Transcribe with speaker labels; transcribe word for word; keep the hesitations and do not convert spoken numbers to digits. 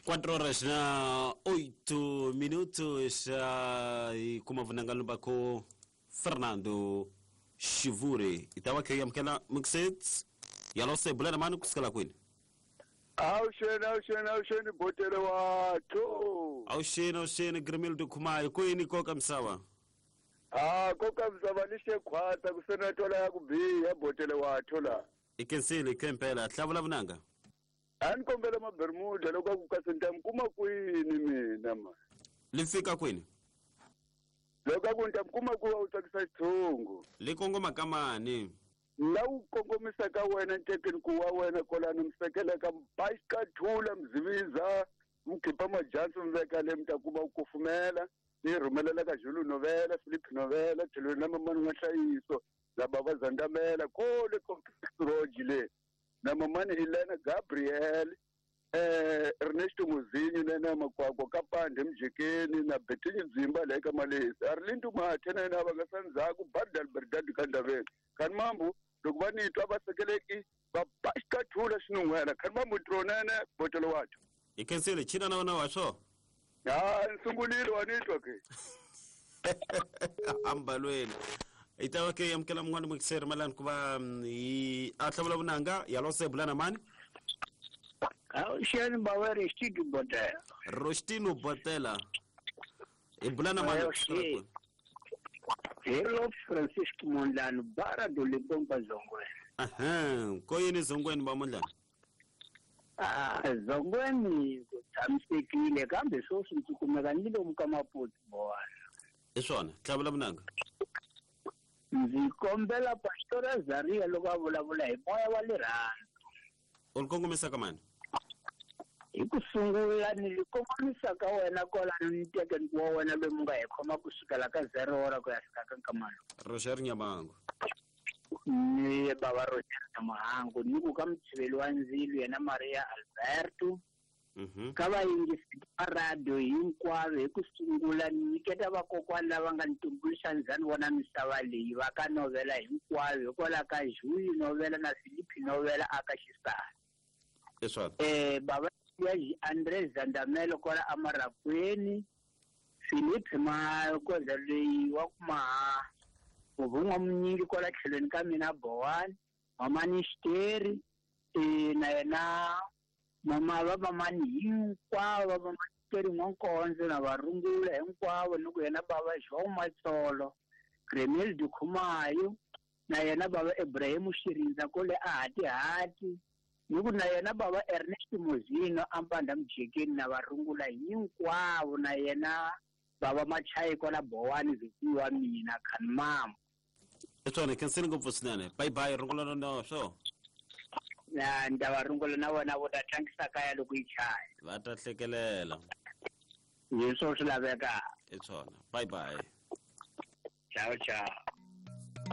Speaker 1: Quatro horas na oito minutos uh, e kuma vunanga lumbako Fernando Shivuri itawa ke yamkela mixet yalose bulana manu kusikala kwini.
Speaker 2: Awusheni awusheni awusheni botele wathu.
Speaker 1: Awusheni awusheni Grimildo Khumayo kwini koka msawa.
Speaker 2: Ah koka msawa lishe khwata kusenatola yakubiya botele wathu la.
Speaker 1: Ikensile ikempela hlavula vunanga.
Speaker 2: Anikombela mabermuda lokho kukasentam kuma kwini mina ma.
Speaker 1: Lifika kwini?
Speaker 2: Lokho kuntam kuma kuwa utsakisa xithungu.
Speaker 1: Likongoma kamani.
Speaker 2: La u kongomisa ka wena ntekeni ku wa wena kolani msekele ka bashikathula mziviza mkhipha majansi mveka le mtakuba ukufumela ni rhumelela ka Zulu Novela Philip Novela tlhelo na mamani wa nhlayiso la baba Zandamela kole complex le na mamani Helena Gabriel eh Ernesto Muzinyo na Makwakwa ka Pande Mjekeni na Betinyi Dzimba le ka Malesi Arlindu Mathe na yena va nga sandzhaku Badal Berdad ka Ndaveni kan mambu loko va ni twa va sekeleki va bashikathula xinun'wela kan mambu tronene botelo wathu.
Speaker 1: Ikensile china na wona wa swo.
Speaker 2: Ha nsungulile wa ni twa ke.
Speaker 1: Ambalweni. Itawa ke yamkela mngwana mukiseri malani kuba i ahlavula vunanga yalose bulana mani.
Speaker 3: Awusheni bawe Rostino Botela.
Speaker 1: Rostino Botela. Ibulana mani.
Speaker 3: Hello Francisco Mondlane bara do Limpopo Zongweni.
Speaker 1: Aha, koyini Zongweni ba Mondlane?
Speaker 3: Ah, Zongweni ku tshamisekile kambe sweswi ndzi kumeka ni lomu ka Maputo bowana.
Speaker 1: I swona, hlavula vunanga.
Speaker 3: Ndzi kombela Pastor Zaria loko a vulavula hi moya wa rirhandzu.
Speaker 1: U li kongomisa ka mani?
Speaker 3: Hi ku sungula ni li kongomisa ka wena kwalano ni tekeni wa wena loyi mu nga hi khoma kusukela ka zero hora ku ya fika ka nkamalo.
Speaker 1: Roger Nyamango.
Speaker 3: Ni baba Roger Nyamango ni ku ka mutshiveli wa ndzilo yena Maria Alberto.
Speaker 1: Mhm.
Speaker 3: Ka vayingisi va radio hinkwavo hi ku sungula ni nyiketa vakokwani lava nga ni tumbuluxa ndzhani vona misava leyi va ka novela hinkwayo hikwalaho ka Julie Novela na Philip Novela aka Xisana.
Speaker 1: Leswaku
Speaker 3: eh baba ya Andre Zandamelo kwala Amarakweni Philip Makoza leyi wa kuma muvun'wa munyingi kwala tlhelweni ka mina Bowani mamani Xiteri eh na yena mama va mamani hinkwavo va mamani Xiteri N'wankonzo na varungula hinkwavo ni ku yena baba João Matsolo Gremel Dukhumayo na yena baba Ibrahim Shirinza kole a hati hati ni ku na yena baba Ernest Muzino ampanda Mjekeni na varungula hinkwavo na yena baba Machayi kwala Bowani vikiwa mina khanmam.
Speaker 1: Etswana kensini ngopfu swinene. Bye bye rungula na swo.
Speaker 3: Na ndava rungula na wena vo ta tlangisa kaya loko yi chaya.
Speaker 1: Va ta hlekelela.
Speaker 3: Hi swo swi lavekaka.
Speaker 1: Etswana. Bye bye.
Speaker 3: Ciao ciao.